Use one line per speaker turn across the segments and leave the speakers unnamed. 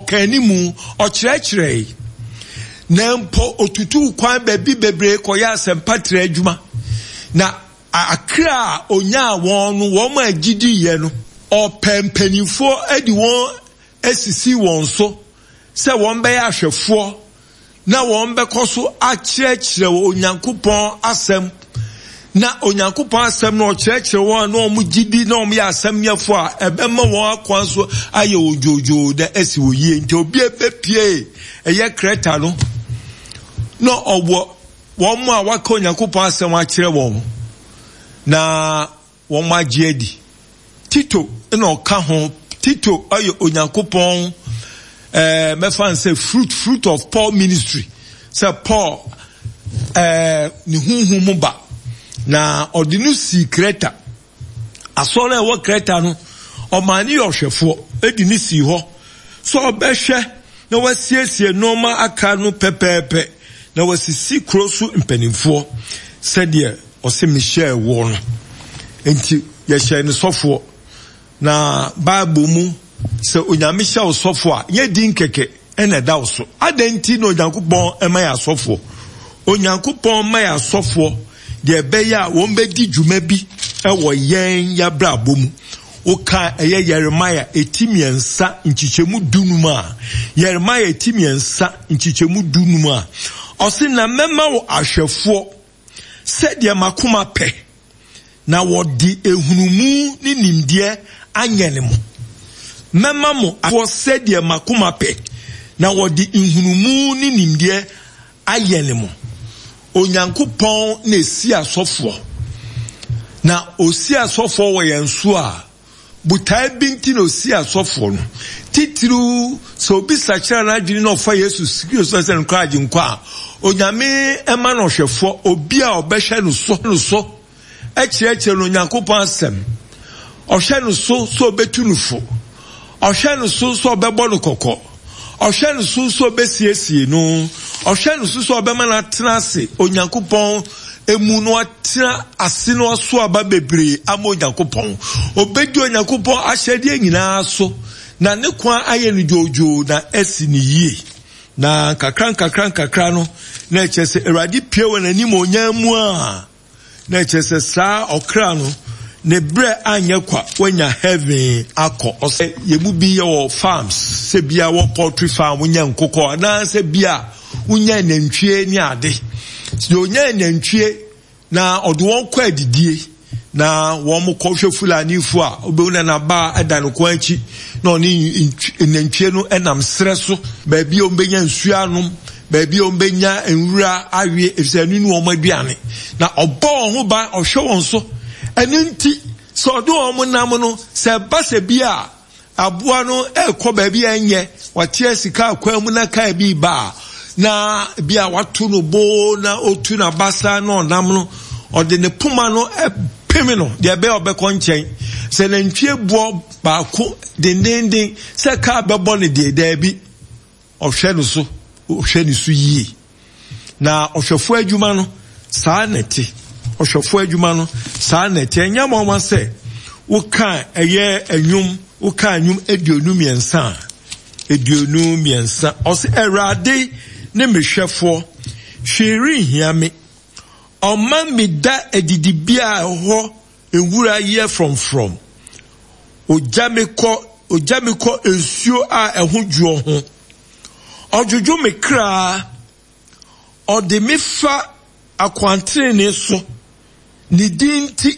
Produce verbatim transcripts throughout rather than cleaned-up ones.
Ɔka animu, ɔkyerɛkyerɛe, na mpo otutuu kwan baabi bebree kɔyɛ asɛmpatrɛ adwuma. Na akra a onyaa wɔn no, wɔn a gyidiiɛ no, ɔpɛ mpanimfoɔ de wɔn asisi wɔn so sɛ wɔn bɛyɛ ahwɛfoɔ na wɔn bɛkɔ so akyerɛkyerɛ Onyankopɔn asɛm. Na Onyankopɔn asɛm no ɔkyerɛkyerɛ wɔn a na wɔn gyidi na wɔn yɛ asɛmyɛfoɔ a ɛbɛma wɔn akwan so ayɛ wɔn dwoodwoo na asi wɔn yie. Nti obi ebepie ɛyɛ Kreta no na ɔwɔ wɔn a waka Onyankopɔn asɛm akyerɛ wɔn na wɔn agye adi. Tito na ɔka ho. Tito ɔyɛ Onyankopɔn ɛɛ mɛfa nsɛ fruit fruit of Paul ministry, sɛ Paul ɛɛ ne huhu mu ba na ɔde no sii Kreta. Asɔre a ɛwɔ Kreta no, ɔmaa ne yɛ ɔhwɛfoɔ edi ne sii hɔ sɛ ɔbɛhwɛ na wasiesie nneɛma aka no pɛpɛɛpɛ na wasisi kuro so mpanimfoɔ sɛdeɛ ɔsɛ mehyɛɛ wɔ no. Nti yɛhyɛ ne sɔfoɔ. Na Bible mu sɛ Onyame hyɛ wo sɔfoɔ a, nyɛ din kɛkɛ ɛna ɛda wo so. Adɛn nti na Onyankopɔn ɛma yɛ asɔfoɔ? Onyankopɔn ma yɛ asɔfoɔ deɛ ɛbɛyɛ a wɔn bɛdi dwuma bi ɛwɔ yɛn yɛabrabɔ mu. Woka ɛyɛ Yeremia eti mmiɛnsa nkyekyɛmu dunum a, Yeremia eti mmiɛnsa nkyekyɛmu dunum a, ɔse na mɛma wo ahwɛfoɔ sɛdeɛ makoma pɛ, na wɔde ehunumu ne nimdeɛ anyɛ mo. Mɛma mo ahwɛfoɔ sɛdeɛ makoma pɛ, na wɔde nhunumu ne nimdeɛ ayɛ mo. Onyankopɔn na esi asɔfoɔ. Na osi asɔfoɔ wɔ yɛn so a, botae bi nti na osi asɔfoɔ no. Titiriw sɛ obi sakyera n'adwene na ɔfa Yesu Kristo sɛ ne kra agyenkwa a, Onyame ɛma no ɔhwɛfoɔ, obi a ɔbɛhwɛ no so no so ɛkyerɛkyerɛ no Onyankopɔn asɛm. Ɔhwɛ no so sɛ ɔbɛtu no fo. Ɔhwɛ no so sɛ ɔbɛbɔ no kɔkɔ. Ɔhwɛ no so sɛ ɔbɛsiesie no. Ɔhwɛ no so sɛ ɔbɛma no atena ase Onyankopɔn emu no atena ase no aso aba bebree ama Onyankopɔn. Obedi Onyankopɔn ahyɛdeɛ nyinaa so na ne kwan ayɛ no dwoodwoo na asi ne yie. Na nkakra nkakra nkakra no na ɛkyerɛ sɛ Awurade pie wɔ n'anim onyam mu a, na ɛkyerɛ sɛ saa ɔkra no ne brɛ anyɛ kwa, wanya heaven akɔ. Ɔsɛ yɛn mu bi yɛ wɔ farms, sɛ bia wɔ poultry farm, wonya nkokɔ anaasɛ bia wonya nantwie ne ade. Sɛ onya nantwie na ɔde wɔn kɔ adidie na wɔn kɔhwɛ Fulanifo a, wobɛhu na n'aba ɛda ne kɔn akyi na ɔne nantwie no ɛnam serɛ so, baabi a wɔbɛnya nsuo anom, baabi a wɔbɛnya nwura awie, efisɛ ɛno ne wɔn aduane. Na ɔbɔ wɔn ho ban, ɔhwɛ wɔn so. Ɛno nti sɛ ɔde wɔn nam no, sɛ ɛba sɛ bi a aboa no ɛrekɔ baabi a ɛnyɛ, wate sika akwan mu na kaa bi ba a, na bi a wato no bo na otu n'abasa na ɔnam no, ɔde ne poma no ɛpem no deɛ ɛbɛyɛ ɔbɛkɔ nkyɛn. Sɛ nantwie boɔ baako dendenden sɛ kaa bɛbɔ no deɛ, daabi, ɔhwɛ no so, ɔhwɛ ne so yie. Na ɔhwɛfoɔ adwuma no saa na ɛte. Ɔhwɛfoɔ adwuma no saa na ɛte. Ɛnyɛ nwanwa sɛ woka ɛyɛ ɛnwom, woka ɛnwom aduonu mmiɛnsa a, aduonu mmiɛnsa. Ɔse Awurade ne me hwɛfoɔ, hwee renhia me. Ɔma me da adidibea a ɛhɔ nwura yɛ frɔmfrɔm. Ogya me kɔ, ogya me kɔ nsuo a ɛho dwoɔ ho. Ɔdwodwo me kra, ɔde me fa akwantenene so, ne din nti.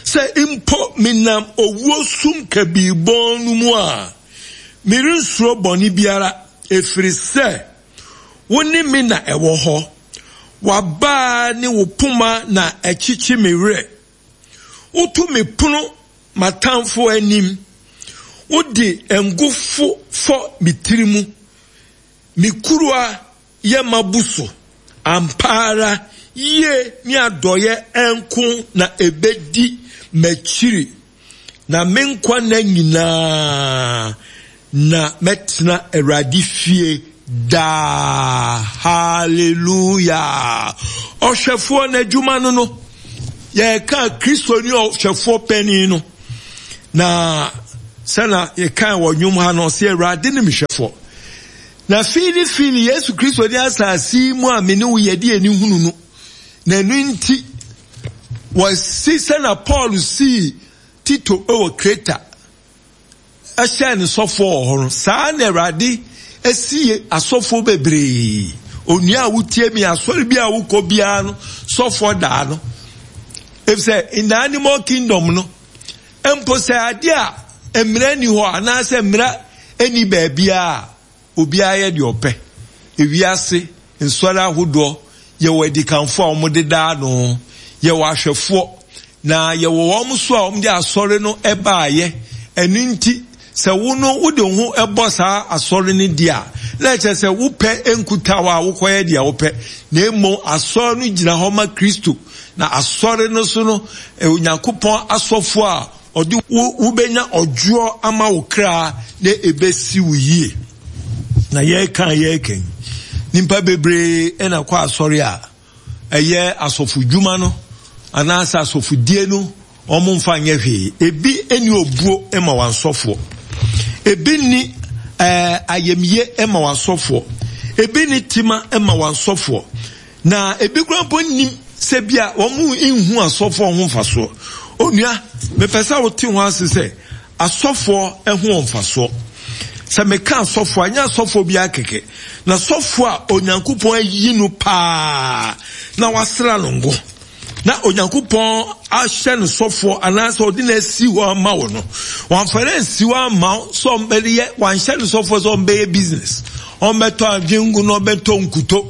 Sɛ mpo menam owuo sum kabii bɔn no mu a, merensuro bɔne biara, ɛfiri sɛ wo ne me na ɛwɔ hɔ. W'abaa ne wo poma na ɛkyekye me werɛ. Woto me pono m'atamfo anim. Wode ngo fɔ me tiri mu. Me kuruwa yɛ mabu so. Ampa ara yie ne adɔeɛ nko na ebedi m'akyiri, na me nkwa nna nyinaa na mɛtena Awurade fie daa. Hallelujah. Ɔhwɛfoɔ n'adwuma no no, yɛka Kristo ne ɔhwɛfoɔ panin no. Na Sɛna yɛkan wɔ nnwom ha no, ɔsɛ Awurade ne mehwɛfoɔ. Na fiili fiili Yesu Kristo ne asase mu a me ne wo yɛde ani hunu no. Na ɛno nti, wɔsi sɛna Paul sii Tito wɔ Kreta ɛhyɛ ne sɔfoɔ wɔ hɔ no, saa na Awurade esie asɔfoɔ bebree. Onua a wotie mi, asɔre bi a wokɔ biara no, sɔfoɔ daa no. Efisɛ in the animal kingdom no, mpo sɛ ade a mmara ni hɔ anaasɛ mmara ni baabiara, obiara yɛ deɛ ɔpɛ. Ewiase nsɔre ahodoɔ, yɛwɔ adikanfoɔ a wɔde daa no, yɛwɔ ahwɛfoɔ, na yɛwɔ wɔn so a wɔde asɔre no baayɛ. Ɛno nti, sɛ wo no wode wo ho bɔ saa asɔre no di a, na ɛkyerɛ sɛ wopɛ nkutaw a wokɔyɛ deɛ wopɛ. Na mmom asɔre no gyina hɔ ma Kristo. Na asɔre no so no, Onyankopɔn asɔfoɔ a ɔde wo wobɛnya ɔdwoɔ ama wo kra na ebesi wo yie. Na yɛreka yɛreka yi, nipa bebree ɛna kɔ asɔre a ɛyɛ asɔfodwuma no anaasɛ asɔfodie no, wɔn mfa nyɛ hwee. Ebi ni obuo ma wɔn asɔfoɔ. Ebi ni ɛɛ ayamye ma wɔn asɔfoɔ. Ebi ni tima ma wɔn asɔfoɔ. Na ebi kura mpo nim sɛ bi a wɔn nhu asɔfoɔ ho mfasoɔ. Onua, mepɛ sɛ wote ho ase sɛ asɔfoɔ ho wɔ mfasoɔ. Sɛ meka asɔfoɔ a, ɛnyɛ asɔfoɔ bi akɛkɛ. Na sɔfoɔ a Onyankopɔn ayi no paa na wasra no ngo, na Onyankopɔn ahyɛ no sɔfoɔ anaasɛ ɔde no asi hɔ ama wo no, wamfa no ansi hɔ ama wo sɛ ɔmbɛyɛ, wanhyɛ no sɔfoɔ sɛ ɔmbɛyɛ business, ɔmbɛtɔ adwengu na ɔbɛtɔ nkuto,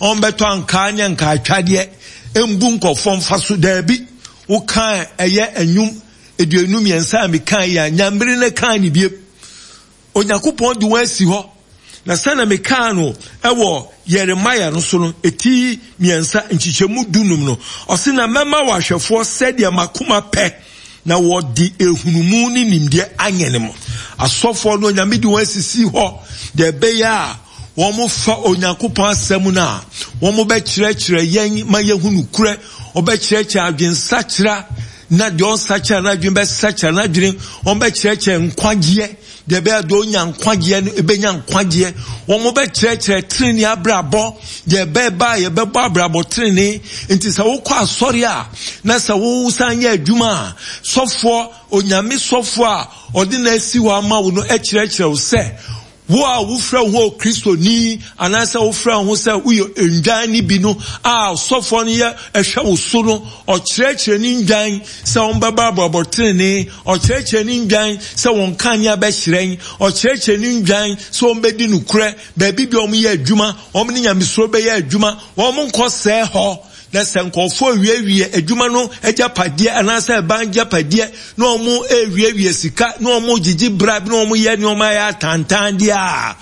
ɔmbɛtɔ ankaa ne ankaatwadeɛ, mbu nkɔfoɔ mfa so. Daabi, wokaa ɛyɛ anwum aduonu mmiɛnsa a mekaa yi a, nyambere no kaa ne biem. Onyankopɔn de wɔn asi hɔ. Na sɛnea mekaa no ɛwɔ Yeremia no so no, eti mmiɛnsa nkyekyɛmu dunum no, ɔse na mɛma wɔ ahwɛfoɔ sɛdeɛ makoma pɛ, na wɔde ehunumu ne nimdeɛ anyɛ ne mo. Asɔfoɔ no, Onyame de wɔn asisi hɔ deɛ ɛbɛyɛ a wɔn fa Onyankopɔn asɛm no a, wɔn bɛkyerɛkyerɛ yɛn ma yɛhu nokorɛ, wɔbɛkyerɛkyerɛ adwensakyera, na deɛ ɔnsakyera n'adwene bɛsakyera n'adwene, wɔn bɛkyerɛkyerɛ nkwagyeɛ, deɛ ɛbɛyɛ deɛ ɔnya nkwagyeɛ no ɛbɛnya nkwagyeɛ, wɔn bɛkyerɛkyerɛ tenenee abrabɔ, deɛ ɛbɛba a yɛbɛbɔ abrabɔ tenenee. Nti sɛ wokɔ asɔre a, na sɛ wosan yɛ adwuma a, sɔfoɔ, Onyame sɔfoɔ a ɔde na asi hɔ ama wo no ɛkyerɛkyerɛ wo sɛ, wo a wofrɛ wo ho Kristoni anaasɛ wofrɛ wo ho sɛ woyɛ ndwan ne bi no a, sɔfoɔ no yɛ ɛhwɛ wo so no, ɔkyerɛkyerɛ ne ndwan sɛ wɔn bɛbɔ abrabɔ tenenee, ɔkyerɛkyerɛ ne ndwan sɛ wɔn kanea bɛhyerɛn, ɔkyerɛkyerɛ ne ndwan sɛ wɔn bɛdi nokorɛ, baabi bi a wɔn yɛ adwuma, wɔn ne nyamesuro bɛyɛ adwuma, wɔn nkɔ sɛɛ hɔ. Na sɛ nkɔfoɔ wiewie adwuma no agyapadeɛ anaasɛ ɛban agyapadeɛ na wɔn ewiewie sika na wɔn gyegye bra na wɔn yɛ nneɛma yɛ atantan deɛ a,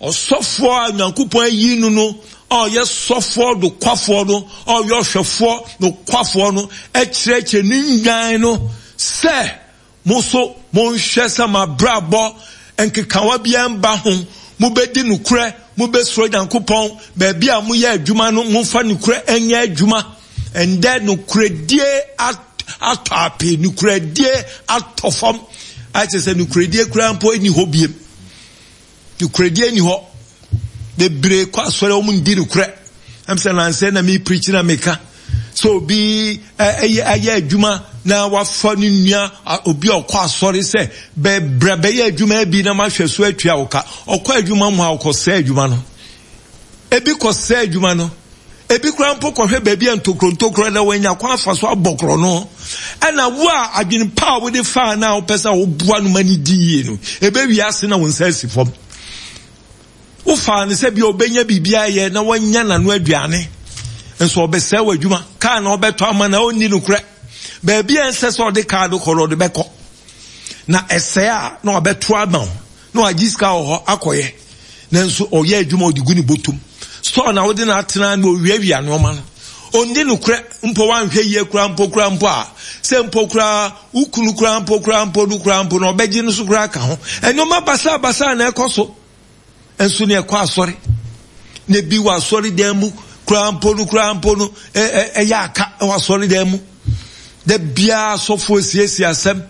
ɔsɔfoɔ a Nyankopɔn ayi no no, a ɔyɛ sɔfoɔ nokwafoɔ no, a ɔyɛ ɔhwɛfoɔ nokwafoɔ no, ɛkyerɛkyerɛ ne nnwan no sɛ, mo so monhwɛ sɛ mabrabɔ nkekawa biara mba ho, mobɛdi nokorɛ, mobɛsuro Nyankopɔn, baabi a moyɛ adwuma no, momfa nokorɛ nyɛ adwuma. Ɛndɛ nokorɛdie atɔ ape, nokorɛdie atɔ fam. Akyerɛ sɛ nokorɛdie koraa mpo nni hɔ biem. Nokorɛdie nni hɔ. Bebree kɔ asɔre a wɔn ndi nokorɛ. Ɛm sɛ nansɛ na mi preach na meka sɛ obi ɛyɛ ayɛ adwuma na wafa ne nua obi a ɔkɔ asɔre sɛ bɛbrɛ bɛyɛ adwuma bi na mahwɛ so atua wo ka. Ɔkɔ adwuma mu a ɔkɔ sɛ adwuma no. Ebi kɔ sɛ adwuma no. Ebi kura mpo kɔhwɛ baabi a ntokuro ntokuro na wɔanya kwan afa so abɔ korɔ no. Ɛna wo a adwene pa a wode faa na wopɛ sɛ woboa no ma ne di yie no, ebe wiase na wo nsa asi fam. Wofaa no sɛ bi a ɔbɛnya biribi ayɛ na wanya n'ano aduane, nso ɔbɛsɛe w'adwuma. Kaa na ɔbɛtɔ ama na ɔnni nokorɛ. Baabi a ɛnsɛ sɛ ɔde kaa no kɔ no, ɔde bɛkɔ. Na ɛsɛe a na ɔbɛto ama wo, na wagye sika wɔ hɔ akɔyɛ. Nanso ɔyɛ adwuma ɔde gu ne bɔtɔm. Store na wode no atena na owiawia nneɛma no. Ɔnni nokorɛ mpo, wanhwɛ yie koraa mpo koraa mpo a, sɛ mpo koraa wo kunu koraa mpo koraa mpo no koraa mpo na ɔbɛgye no so koraa ka ho. Nneɛma basabasa na ɛkɔ so. Nso ne ɛkɔ asɔre. Na ebi wɔ asɔre dan mu koraa mpo no koraa mpo no ɛyɛ aka wɔ asɔre dan mu. Da biara asɔfoɔ siesie asɛm.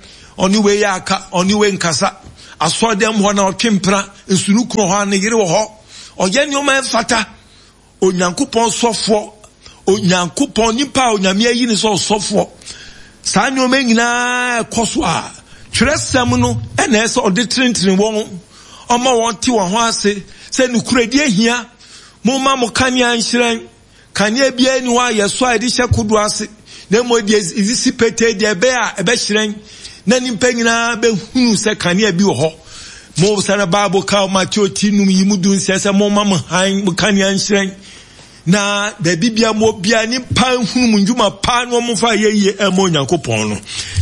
Ɔne wei yɛ aka, ɔne wei nkasa. Asɔredan mu hɔ na ɔtwe mpena, nsunu kunu hɔ a ne yere wɔ hɔ. Ɔyɛ nneɛma ɛmfata. Onyankopɔn sɔfoɔ, Onyankopɔn nipa a Onyame ayi ne sɛ ɔsɔfoɔ. Saa nneɛma nyinaa ɛkɔ so a, twerɛsɛm no ɛna ɛsɛ ɔde tenetene wɔn, ɔma wɔn te wɔn ho ase sɛ nokorɛdie hia. Momma mo kanea nhyerɛn. Kanea biara ni hɔ a yɛsɔ a yɛde hyɛ kodoɔ ase, na mmom deɛ ɛsisi petee deɛ ɛbɛyɛ a ɛbɛhyerɛn na nnipa nyinaa bɛhunu sɛ kanea bi wɔ hɔ. Mo sɛ Bible ka Mateo ti num yi mu du nsia sɛ momma mo hann mo kanea nhyerɛn na baabi bia mo bia nipa nhunu mo ndwuma pa na wɔn fa yɛ yie ɛma Onyankopɔn no.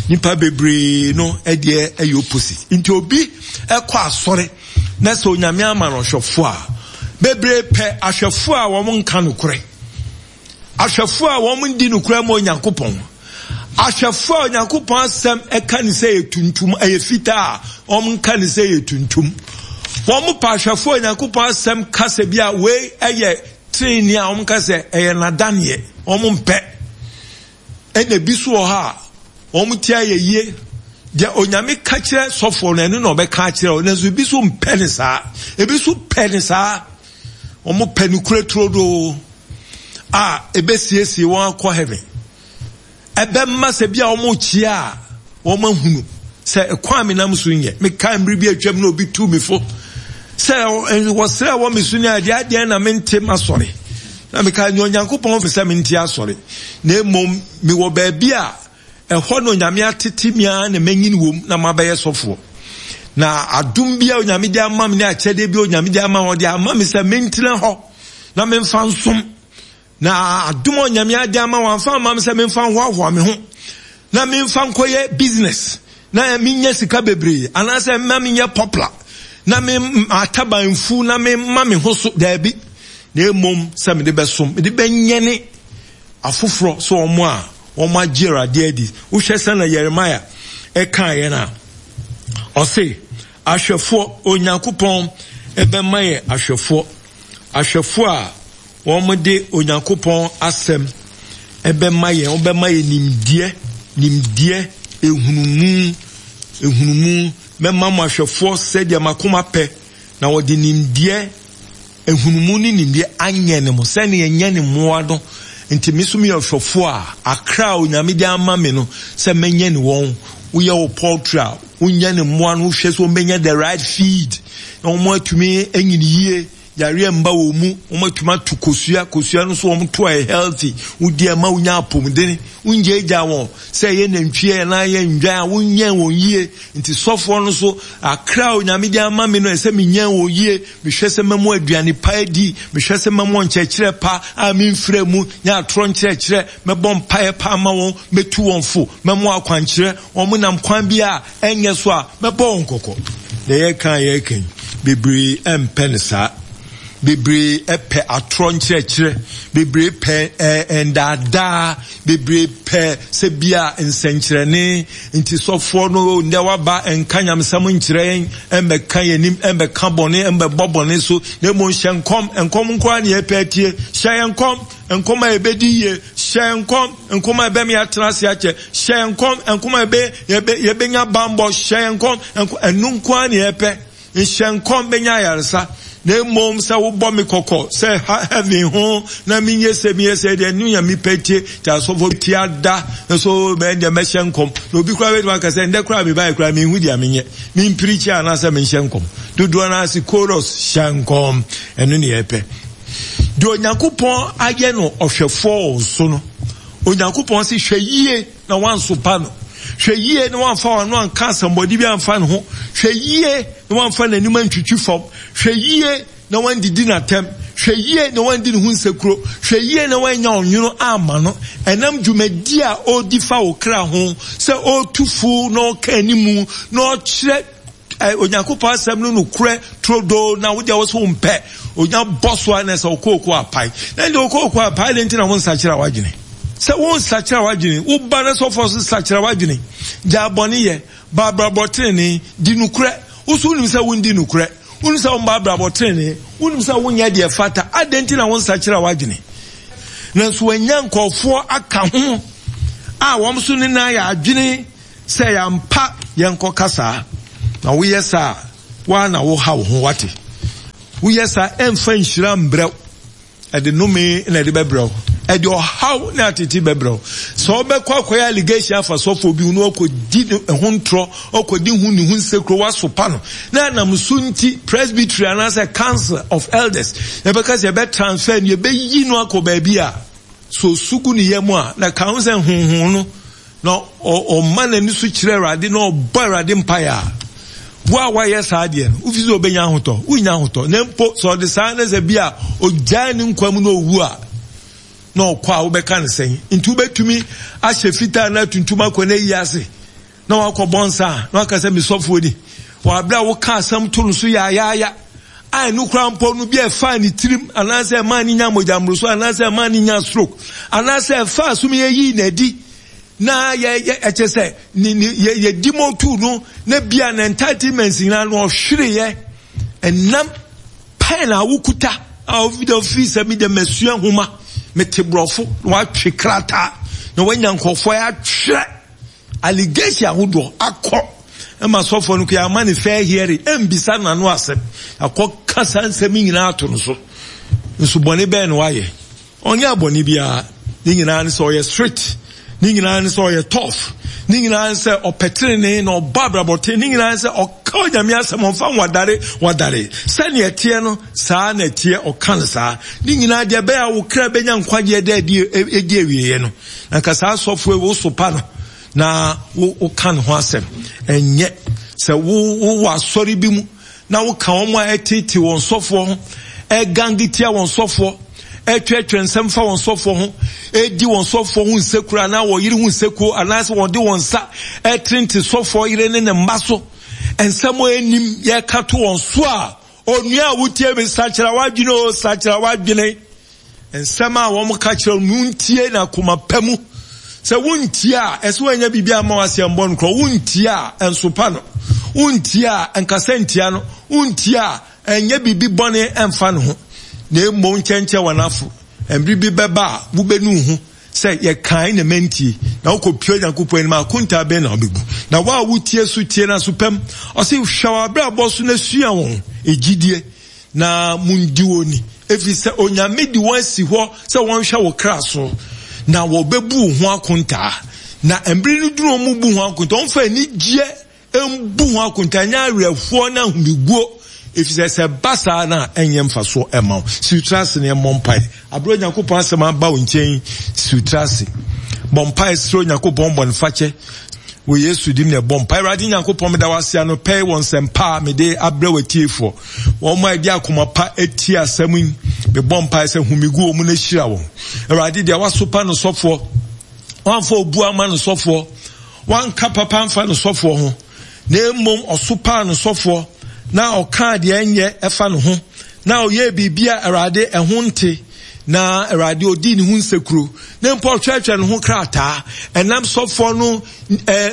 Nipa bebree no ɛdeɛ ɛyɛ opposite. Nti obi ɛkɔ asɔre na sɛ Onyame ama no ɔhwɛfo a, bebree pɛ ahwɛfo a wɔn nka nokorɛ, ahwɛfo a wɔn ndi nokorɛ ma Onyankopɔn, ahwɛfo a Onyankopɔn asɛm ɛka ne sɛ yɛ tuntum ɛyɛ fitaa a wɔn nka ne sɛ yɛ tuntum. Wɔn pɛ ahwɛfo a Onyankopɔn asɛm kasa bi a wei ɛyɛ trenee a wɔn ka sɛ ɛyɛ nadaneɛ, wɔn mpɛ. Ɛna ebi so wɔ hɔ a wɔn ti ayɛ yie. Deɛ Onyame ka kyerɛ sɔfoɔ no ɛno na ɔbɛka akyerɛ wo, nanso ebi so mpɛ ne saa, ebi so pɛ ne saa. Wɔn pɛ ne kure turodoo a ebesiesie wɔn akɔ heaven. Ɛbɛma sɛ bi a wɔn kyia a wɔn ahunu sɛ ɛkwan mi nam so nyɛ. Meka mmiri bi atwam na obi tu mi fo sɛ wɔsrɛ wɔ me so ne adeɛ adeɛ na mente ma sɔre. Na meka nea Onyankopɔn fɛ sɛ mente asɔre, na mmom mewɔ baabi a ɛhɔ na Onyame atete me ara na manyini wom na mabɛyɛ sɔfoɔ. Na adom bi a Onyame de ama me ne akyɛdeɛ bi a Onyame de ama me, ɔde ama me sɛ mentena hɔ na memfa nsom. Na adom a Onyame ade ama wamfa ama me sɛ memfa nhoahoa me ho na memfa nkɔyɛ business na menyɛ sika bebree anaasɛ mma menyɛ popular na me ataban mfu na memma me ho so, daabi. Na mmom sɛ mede bɛsom, mede bɛnyɛne afoforɔ sɛ wɔn a wɔn agye Awurade adi. Wohwɛ sɛ na Yeremia ɛka yɛn a, ɔse ahwɛfoɔ, Onyankopɔn ɛbɛma yɛ ahwɛfoɔ, ahwɛfoɔ a wɔn de Onyankopɔn asɛm ɛbɛma yɛn, wɔbɛma yɛ nimdeɛ, nimdeɛ, ehunumu, ehunumu. Mɛma mo ahwɛfoɔ sɛdeɛ makoma pɛ, na wɔde nimdeɛ, ehunumu ne nimdeɛ anyɛ ne mo sɛnea ɛnyɛ ne mmoa no. Nti me nso meyɛ ɔhwɛfoɔ a akra a Onyame de ama me no sɛ mɛnyɛ ne wɔn. Woyɛ wo poultry a, wonyɛ ne mmoa no, wohwɛ sɛ wɔbɛnya the right feed na wɔn atumi anyini yie, yareɛ mba wɔn mu, wɔn atumi ato kosua, kosua no nso wɔn to a healthy, wodi ɛma wonya apɔmuden, wongyaagyaa wɔn sɛ ɛyɛ nantwie anaa ɛyɛ ndwan a, wonyɛn wɔn yie. Nti sɔfoɔ no so akra a Onyame de ama me no ɛsɛ menyɛn wɔn yie. Mehwɛ sɛ mɛmo aduane pa adi, mehwɛ sɛ mɛmo nkyerɛkyerɛ pa a memfrɛ mu nyɛ atorɔ nkyerɛkyerɛ, mɛbɔ mpaeɛ pa ama wɔn, mɛtu wɔn fo, mɛmo akwankyerɛ, wɔn nam kwan bi a ɛnyɛ so a mɛbɔ wɔn kɔkɔ. Na yɛka a yɛka yi, bebree ɛmpɛ ne saa. Bebree ɛpɛ atorɔ nkyerɛkyerɛ, bebree pɛ ɛndaadaa, bebree pɛ sɛ bia nsɛnkyerɛnne. Nti sɔfoɔ no ndɛ waba ɛnka nyamesɛm nkyerɛ yɛn, ɛmbɛka yɛn anim, ɛmbɛka bɔne, ɛmbɛbɔ bɔne so, na mmom hyɛ nkɔm, nkɔm nkoa ne yɛpɛ atie. Hyɛ yɛn nkɔm, nkɔm a yɛbɛdi yie, hyɛ yɛn nkɔm, nkɔm a ɛbɛma yɛatena ase akyɛ, hyɛ yɛn nkɔm, nkɔm a yɛbɛ, yɛbɛ, yɛbɛnya bambɔ, hyɛ yɛn nkɔm, ɛno nkoa ne yɛpɛ. Nhyɛ nkɔm bɛnya ayaresa, na mmom sɛ wobɔ me kɔkɔ sɛ heaven ho na menyɛ sɛ meyɛ sɛ deɛ ɛno yɛ mepɛ tie. Nti asɔfo ti ada nso bɛn deɛ mɛhyɛ nkɔm. Na obi koraa bɛtumi aka sɛ ndɛ koraa mebaeɛ koraa menhu deɛ menyɛ, mempirikyi anaasɛ menhyɛ nkɔm. Dodoɔ no ase chorus hyɛ nkɔm, ɛno ne yɛpɛ. Deɛ Onyankopɔn ayɛ no ɔhwɛfoɔ wɔ so no, Onyankopɔn se hwɛ yie na wansopa no, hwɛ yie na wamfa w'ano anka asɛmmɔde bi amfa ne ho, hwɛ yie na wamfa n'anim antwitwi fam, hwɛ yie na wandidi n'atɛm, hwɛ yie na wandi ne ho nsekuro, hwɛ yie na wanya ɔnwono ama no. Ɛnam dwumadi a ɔredi fa wo kra ho sɛ ɔretu fo na ɔka animu na ɔkyerɛ Onyankopɔn asɛm no nokorɛ turodoo, na wo deɛ wo so wompɛ onya bɔ so a na sɛ wokooko apae. Na deɛ wokooko apae deɛ nti na wo nsakyera w'adwene. Sɛ wo nsakyera w'adwene, wo ba no sɔfoɔ so sakyera w'adwene, gyaa bɔne yɛ, ba abrabɔ tenenee, di nokorɛ. Wo so wonim sɛ wondi nokorɛ, wonim sɛ womba abrabɔ tenenee, wonim sɛ wonyɛ deɛ fata, adɛn nti na wo nsakyera w'adwene? Nanso wanya nkurɔfoɔ aka ho a wɔn so ne nan yɛ adwene sɛ yɛampa Yɛnkɔ kasa. Na woyɛ saa, wa na wo ha wo ho wate. Woyɛ saa ɛmfa nhyira mbrɛw. Ɛde nome na ɛde bɛbrɛw. Ɛde ɔhaw na atete bɛbrɛw. Sɛ ɔbɛkɔ akɔyɛ allegation afa sɔfo bi no ɔkɔdi ho ntorɔ, ɔkɔdi ho ne ho nsekuro wasopa no. Na nam so nti presbytery anaasɛ council of elders yɛbɛka sɛ yɛbɛ transfer no yɛbɛyi no akɔ baabi a so sugu ne yam a na ka ho sɛ honhom no na ɔma n'ani so kyerɛ Awurade na ɔbɔ Awurade mpaeɛ a wo a wayɛ saa deɛ no wofi sɛ ɔbɛnya ahotɔ, wonya ahotɔ. Na mpo sɛ ɔde saa ne sɛ bi a ɔgyae ne nkwa mu na ɔwu a na ɔkɔ a wobɛka ne sɛn? Nti wobɛtumi ahyɛ fitaa na tuntum akɔ na ayi ase na wakɔ bɔ nsa a na waka sɛ mesɔfoɔ ni. Wɔ abere a woka asɛm to no so yaayaaya a ɛno koraa mpo no bi a ɛfaa ne tirim anaasɛ ɛmaa ne nya mogya mmoroso anaasɛ ɛmaa ne nya stroke anaasɛ ɛfaa so yɛyii n'adi na yɛ yɛ ɛkyɛ sɛ ne ne yɛ yɛ di motu no na bia na entitlements nyinaa no ɔhwereyɛ ɛnam pɛn a wokuta a ofi dɛ ofiri sɛ mi dɛ masua nhoma mete borɔfo na watwe krataa na wanya nkɔfoɔ atwerɛ allegation ahodoɔ akɔ ɛma sɔfoɔ no koraa ama ne fair hearing ɛmbisa n'ano asɛm akɔ kasa nsɛm nyinaa ato no so. Nso bɔne bɛn na wayɛ? Ɔnyɛ abɔne biara. Ne nyinaa ne sɛ ɔyɛ strict, ne nyinaa ne sɛ ɔyɛ tough, ne nyinaa ne sɛ ɔpɛ tenenee na ɔbɔ abrabɔten, ne nyinaa ne sɛ ɔka Onyame asɛm, ɔmfa nwadare wadare. Sɛnea ɛteɛ no saa na ɛteɛ, ɔka no saa. Ne nyinaa deɛ ɛbɛyɛ a wo kra bɛnya nkwagyeɛ dɛ ɛdi awieeɛ no. Na nka saa asɔfoɔ yi wo sopa no na wo woka ne ho asɛm. Ɛnyɛ sɛ wo wowɔ asɔre bi mu na woka wɔn a ɛtete wɔn sɔfoɔ ho, ɛgange tia wɔn sɔfoɔ, ɛtwerɛtwerɛ nsɛm fa wɔn sɔfoɔ ho, ɛdi wɔn sɔfoɔ ho nsekuro anaa wɔn yere ho nsekuo anaasɛ wɔde wɔn nsa ɛtrente sɔfoɔ yere ne ne mma so. Nsɛm a ɛnim yɛka to wɔn so a, onua a wotie me, sakyera w'adwene o, sakyera w'adwene. Nsɛm a wɔn ka kyerɛ no ntie na akoma pa mu. Sɛ wontie a, ɛsɛ wɔanya biribi ama w'aseɛ mbɔ no korɔ. Wontie a, ɛnsopa no. Wontie a, ɛnkasa ntia no. Wontie a, ɛnyɛ biribi bɔne ɛmfa ne ho. Na mmom nkyɛnkyɛn wɔn afo. Mmere bi bɛba a, wobɛnu ho sɛ yɛkae na mantie. Na wokɔpue Onyankopɔn anim a, akontaa bɛn na wobɛbu? Na wo a wotie so tie no aso pam. Ɔse, hwɛ w'abrabɔ so na sua wɔn gyidie na mundi wɔn ni. Ɛfiri sɛ Onyame de wɔn asi hɔ sɛ wɔnhwɛ wo kra so, na wɔbɛbu wo ho akontaa. Na mmere no duru wɔn bu ho akontaa, wɔmfa anigyeɛ mbu ho akontaa, nyɛ awerɛhoɔ ne ahomiguo. Ɛfiri sɛ sɛ ba saa na ɛnyɛ mfasoɔ ɛma wo. Si wo tiri ase na ɛmmɔ mpaeɛ. Abere Onyankopɔn asɛm aba wo nkyɛn, si wo tiri ase. Bɔ mpaeɛ srɛ Onyankopɔn bɔnefakyɛ. Wɔ Yesu dim na ɛbɔ mpaeɛ. Awurade Nyankopɔn, meda wo ase anɔpa yi wɔ nsɛmpa a mede abrɛ w'atiefoɔ. Wɔn a ɛde akoma pa atie asɛm yi, mebɔ mpaeɛ sɛ home gu wɔn mu na hyira wɔn. Awurade, deɛ wasopa no sɔfoɔ, wamfa obu ama no sɔfoɔ, wanka papa amfa no sɔfoɔ ho, na mmom ɔsopaa no sɔfoɔ, na ɔkaa deɛ ɛnyɛ ɛfa ne ho, na ɔyɛɛ biribi a Awurade ɛho nte, na Awurade ɔdii ne ho nsekuro, na mpo ɔtwerɛtwerɛ ne ho krataa, ɛnam sɔfoɔ no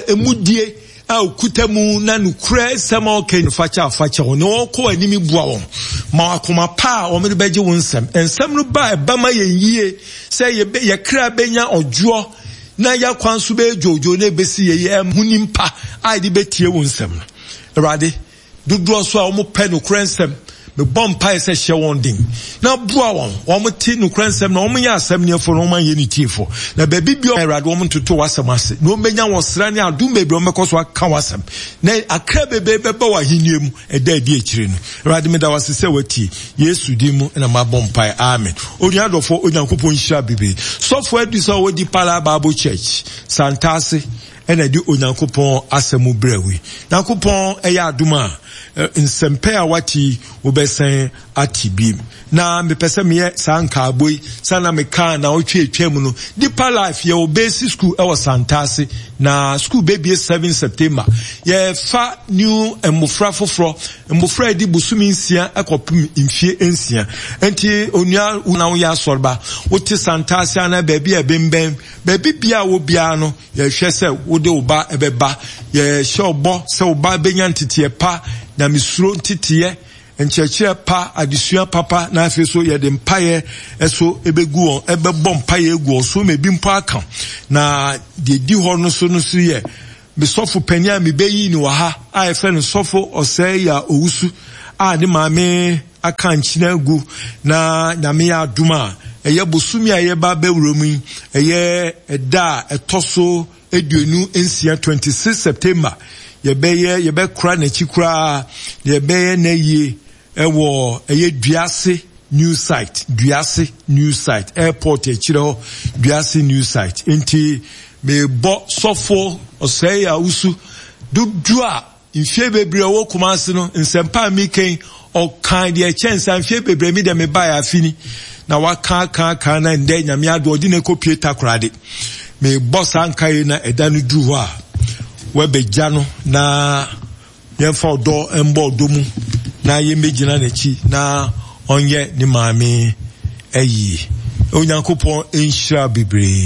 emudie a okuta mu na nokorɛ nsɛm a ɔka no fakyɛ afakyɛ wɔn, na wɔkɔ anim boa wɔn ma akoma pa a wɔn de bɛgye wɔn nsɛm. Nsɛm no ba ɛba ma yɛn yie sɛ yɛkra bɛnya ɔdwoɔ na yɛakwan so bɛyɛ dwoodwoo na ɛbɛsi yɛ yɛ ɛho nimpa a yɛde bɛtie wɔn nsɛm no. Awurade, dodoɔ so a wɔn pɛ nokorɛ nsɛm, mebɔ mpaeɛ sɛ hyɛ wɔn den na boa wɔn, wɔn te nokorɛ nsɛm na wɔn nyɛ asɛm neɛfoɔ na wɔn anyɛ ne tiefoɔ. Na baabi bi Awurade wɔn ntoto w'asɛm ase na wɔn bɛnya wɔn sra ne adom bebree wɔn bɛkɔ so aka w'asɛm na akra bebree bɛba wɔ ahenni mu ɛda adi akyire no. Awurade, meda w'ase sɛ watie. Yesu din mu na mabɔ mpaeɛ, amen. Onua dɔfoɔ, Onyankopɔn nhyira bebree. Sɔfoɔ adu sɛ ɔwɔ Deeper Life Bible Church Santase ɛna de Onyankopɔn asɛm brɛ wo yi. Nyankopɔn ɛyɛ adom a nsɛmpɛ a wate wobɛsɛn ate bi. Na mepɛ sɛ meyɛ saa nkaabɔ yi sɛ na mekaa na ɔtwe atwa mu no. Deeper Life yɛwɔ basic school ɛwɔ Santase, na school bɛbie seven September. Yɛfa new mmofra foforɔ, mmofra edi bosome nsia ɛkɔpem mfie nsia. Enti onua na woyɛ asɔreba, wote Santase anaa baabi a ɛbɛnbɛn, baabi bia wɔ biara no, yɛhwɛ sɛ wode wo ba ɛbɛba. Yɛhyɛ ɔbɔ sɛ wo ba bɛnya nteteɛ pa, nyamesuro nteteɛ, nkyerɛkyerɛ pa, adesua papa, na afei so yɛde mpaeɛ ɛso ɛbɛgu wɔn, ɛbɛbɔ mpaeɛ egu wɔn so ma ebi mpo aka. Na deɛ di hɔ no so no so yɛ Me sɔfo panin a mebɛyii no wɔ ha a yɛfrɛ no Sɔfo Ɔsɛe a Owusu a ne maame aka nkyene agu na Nyame yɛ adom a ɛyɛ bosome a yɛba bɛwura mu yi ɛyɛ ɛda a ɛtɔ so aduonu nsia twenty six September yɛbɛyɛ yɛbɛkora n'akyi koraa na yɛbɛyɛ n'ayie ɛwɔ ɛyɛ Duase New Site, Duase New Site, airport akyire hɔ, Duase New Site. Nti mebɔ sɔfo Ɔsɛe Awusu dodoɔ a mfie bebree ɔwɔ Kumasi no nsɛmpa a meka yi ɔkan deɛ ɛkyɛn saa mfie bebree mi deɛ mebaeɛ afe ni na waka aka aka na ndɛ Nyame ado ɔde no akɔpie Takoradi. Mebɔ saa nkae na ɛda no duru hɔ a wɔabɛgya no na Yɛmfa ɔdɔ mbɔ ɔdɔ mu na yɛmmɛgyina n'akyi na ɔnyɛ ne maame ayie. Onyankopɔn nhyira bebree.